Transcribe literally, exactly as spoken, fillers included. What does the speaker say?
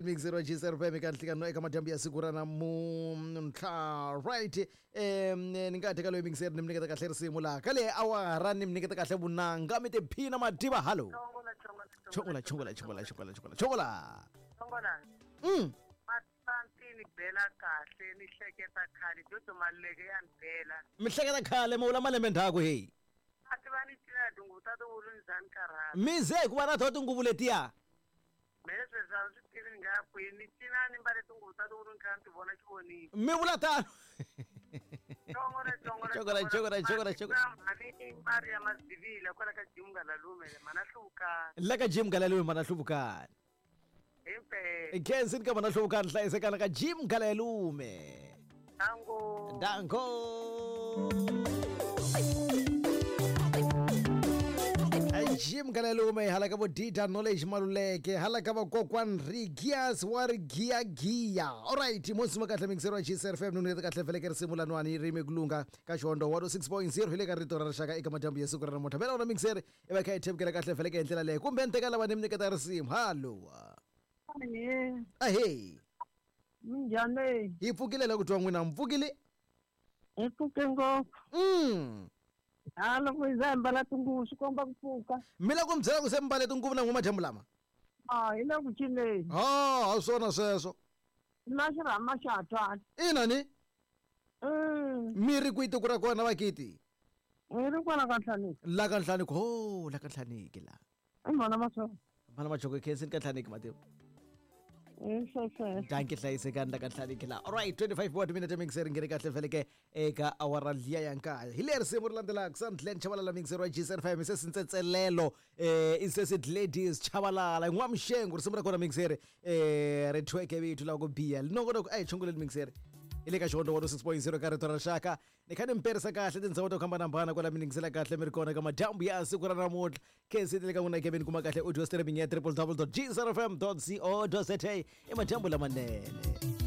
Mixero G S R F M eka nhlikano eka madyambu ya siku ra namuntlha right um ni nga teka loyi mixer ni mi nyiketa kahle risimu laha ka leyi awara ni mi nyiketa kahle vunanga mi tiphina mativa hallo chongola chongola chongola chongola chongola chongola chongola mm matantini bela kahle ni hleketa khale jojo maleke ya bela mi hleketa khale mo vula malembe ndzhaku hey a ti va ni cina tinguvu ta tiwulu ni za ni karhala mi ze ku va na to tinguvu letiya mina sweswi a swi tivi ni nga ya kwini ni cina ni mbale tinguvu ta tiwulu ni kha ni ti vona xivonini mi vula tano chongola chongola chongola chongola chongola chongola mhani Maria Mazivila kwala ka Jim Ngalalume mana hluvukani la ka Jim Ngalalume mana hluvukani himpela khensi ka mana hluvukani hlayisekana ka Jim Ngalalume dango dango Jim Ngalalume hala ka vo Dita Knowledge Maluleke hala ka vakokwan Rigias wa Rigia Gia alright mo sima kahle mixero wa G S R F M nuni kahle vele risimu lanwani rimi kulunga ka Xhondo one oh six point zero hi le ka rito ra rixaka eka madyambu ya siku ra namuntlha mela wona mixer i va kha yi themukela kahle vele ka hi ndlela leyi kumbe ni teka lava ni mi nyiketa risimu hallo ahey minjhani hi pfukile la ku twa n'wina mi pfukile hi pfuke ngopfu mm a loko hi za hi mbala tinguvu swi komba ku pfuka mi la ku mi byela ku se mi mbale tinguvu na n'we madyambu lama a hi le ku cineni ha ha swona sweswo na xirhama xa ha twali ina ni mm mi ri kwihi tiko ra kona vakiti hi ri kwala ka Nhlaniki la ka Nhlaniki ho la ka Nhlaniki la i mhana Machoko mhana Machoko khensini ka Nhlaniki matimu danke hlayisekani la ka Nhlaniki la alright twenty-five what minute mixer ngene kahle veleke eka awara liya ya nkaya hi leri risimu ri landzelaka Sandlen Chabalala mixer wa G S R F M se sintsetselelo eh insese ladies Chabalala n'wamxengu risimu ra kona mixer eh ri thweke vitu la ku biya linongonoko a hi chunguleni mixer hi le ka Xhondo one oh six point zero ka rito ra rixaka ni kha ni mi perisa kahle tindhawu to hambanahambana kwala mi ningisela kahle mi ri kona ka madyambu ya siku ra namuntlha khensi le ka n'wina ke mi ni kuma kahle audio streaming ya w w w dot g s r f m dot co dot z a i madyambu lamanene.